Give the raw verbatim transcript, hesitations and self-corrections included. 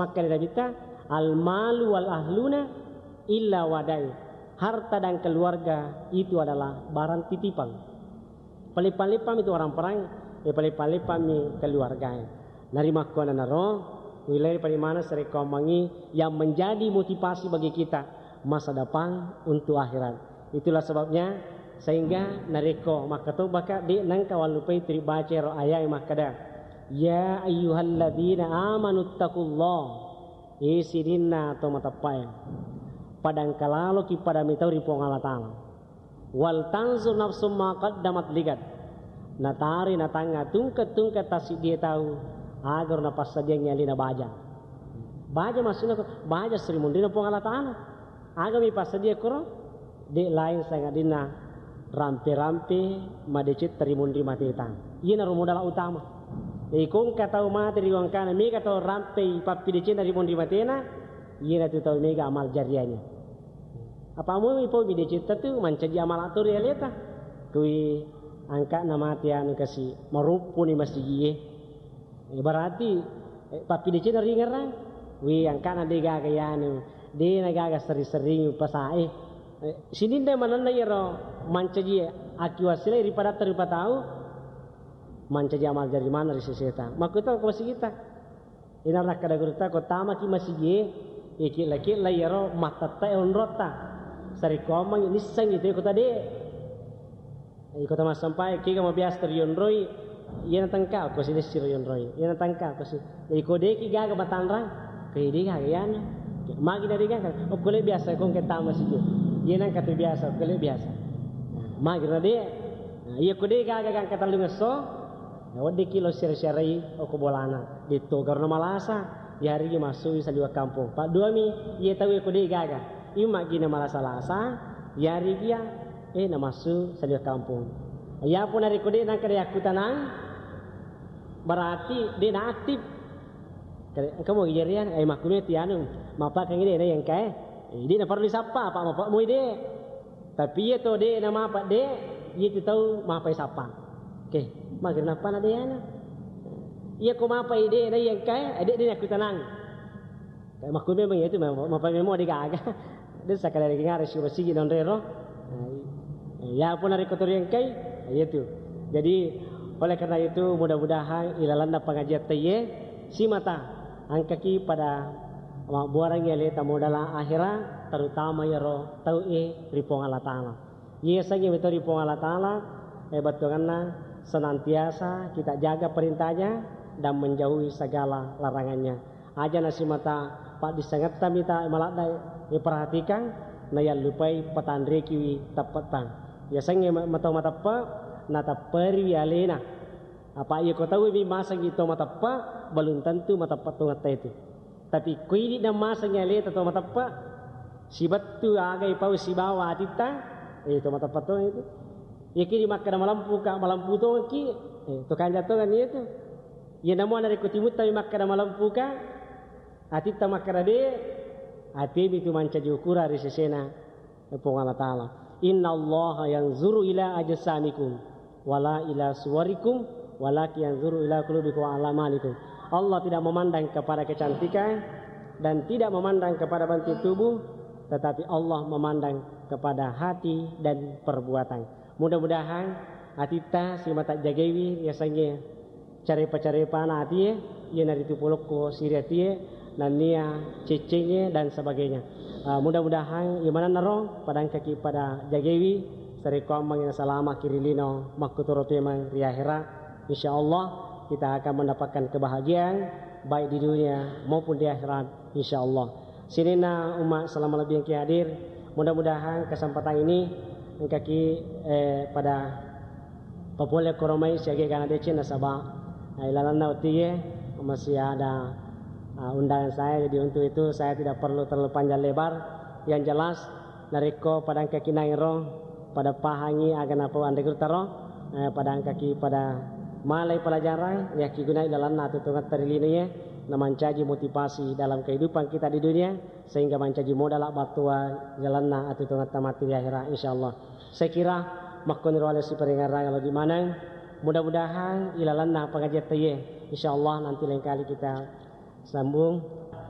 Makkeda Nabitta, "Al-malu wal ahluna illa wadai." Harta dan keluarga itu adalah barang titipan. Paling-paling pami tu orang perang, ya paling-paling pami keluarga. Narimakkuananaro, wilayah parimana sarekkoammengngi yang menjadi motivasi bagi kita masa depan untuk akhirat. Itulah sebabnya sehingga narekko makkatobaka, de' nengka wallupai tu ribaca ero ayat makkeda, "Ya ayyuhalladzina amanu taqullah." Eh, sininna to mateppae, padangkalaloki pada mitau ri Puang Allah Ta'ala. "Wal tanzur nafsum ma qaddamat ligad." Natari natangnga tungke-tungke tassiddie tau, agaro napassadiangngi alena baja. Baja maksudna ko, baja sri munrina Puang Allah Ta'ala. Agami passadia koro, de' lain sangadinna rampe-rampe madecetta ri munri mateta. Iyanaro modala utama. Jadi ko engka tau mate ri wangkana, mega tau rampei pappidecenna ri munri matena, iyanatu tau mega amal jariahnya. Apa mui pau mi decetta tu mancaji amala to ri aleta. Kui angka'na mate anu kasi, maruppuni masigie. Eh, berarti, eh, pappidecenna ringerang. Wi, angka'na de' gaga yanu, de' na gaga sering-sering pasae. Eh, sininna manenna iyaro mancaji akiwassilai ri padatta rupa tau, mancaji amal jari maneng ri seseta. Makkuto ko masigita. Ina nakkeda gurutta, ko tamaki masigie, ikilla-killa iyaro mattettae onrotta. Sarekkoammengngi nissengngi te kota de'. Iko tamassampae, kega mabiasa rionroi, iyana tengka ko si dessiro rionroi, iyana tengka ko si. Iko deki gaga matanrang, ko de' gaga iyana. Magi na de' gaga, okko le biasa ko engka tama siji. Iyana engka tu biasa, okko le biasa. Magi na de'. Nah, iya ko de' gaga gangka tellungesso, nah, weddikki lo sira-sirai okko bolana. Detto garona malasa, yarigi masui saliweng kampong. Padduami, iya tau ko de' gaga. Imma gina malasa-lasa, yarigi ya, eh, namassu saliweng kampong. Iyapo narekko de' nangka de' yakkutanang, berarti de' na aktif. Kare-, engka mo ijarian, eh, makkume ti anu, mappakangi de' na engka, eh. Eh, de' na perlu disappa, apa mappa moi de'. Tapi iya to de' na mapa de', iya tu tau mapa isappa. Oke, mager nappa na de' ana. Iya ko mapa de' na engka, eh, de' de' yakkutanang. Kayak makku memang ya itu, memang, apa memang ada gaga. Dan sekali lagi ngarep si masigi non rero. Nah, i-, ya pun hari kotor yang kai, ya itu. Jadi, oleh karena itu, mudah-mudahan ilalanna pengajian teye, simata, angkaki pada mabbuarang ya leta modala akhira, terutama ya ro, tau e, ri Puang Allah Ta'ala. Iya sangi metau ri Puang Allah Ta'ala, eh, battuanganna senantiasa kita jaga perintahnya dan menjauhi segala larangannya. Aja nasimata paddissengetta mita maladda iperhatikan, nayallupai patanrekiwi teppetta. Yasengnge ma-, matau mateppe, natepperiwi alena. Apa iya ko tauwi masengngi to mateppe, belum tentu mateppe tongetta itu. Tapi ko idi nammasengngi aleta to mateppe, sibettu aga ipau sibawa atitta, eh, to mateppe tongeng itu. Iya kidi makkeda malempuka, malempu tongengki, eh, to kanja tongeng itu. Iya namo narekko timuttami makkeda malempuka, atitta makkeda de, atemi tu mancaji ukurang ri sesena Puang Allah Ta'ala. "Innallaha yanzuru ila ajsamikum, wala ila suwarikum, walakin yanzuru ila qulubikum wa a'malikum." Allah tidak memandang kepada kecantikan dan tidak memandang kepada bentuk tubuh, tetapi Allah memandang kepada hati dan perbuatan. Mudah-mudahan atitta simata jagaiwi yasengnge carepa-carepana atie, iyanaritu polokko siri atie, nennia ceccengnge dan sebagainya. Ah, mudah-mudahan imanennaro padangkaki pada jagewi, sarekkoammengngi nasalamaki ri lino makkutoro pemeng ri akhirat. Insya Allah kita akan mendapatkan kebahagiaan baik di dunia maupun di akhirat, insya Allah. Sininna umma selama lebih yang hadir, mudah-mudahan kesempatan ini engkaki, eh, pada papole koromai siaga gana deceng nasaba, eh, ilalanna otie masih ada, ah, undangan saya, jadi untuk itu saya tidak perlu terlalu panjang lebar. Yang jelas, narekko pada engkaki nairo, pada pahangi aga napau anre gurutaro, eh, pada engkaki pada malai pelajaran, yakkigunai ilalanna atuttungetta ri linoe, namancaji motivasi dalam kehidupan kita di dunia, sehingga mancaji modala battua ilalanna atuttungetta matti di akhirat, insyaallah. Saya kira makkoniro ale siparingerrang lebih maneng. Mudah-mudahan ilalanna pengajian teye, insyaallah nanti lain kali kita sambung.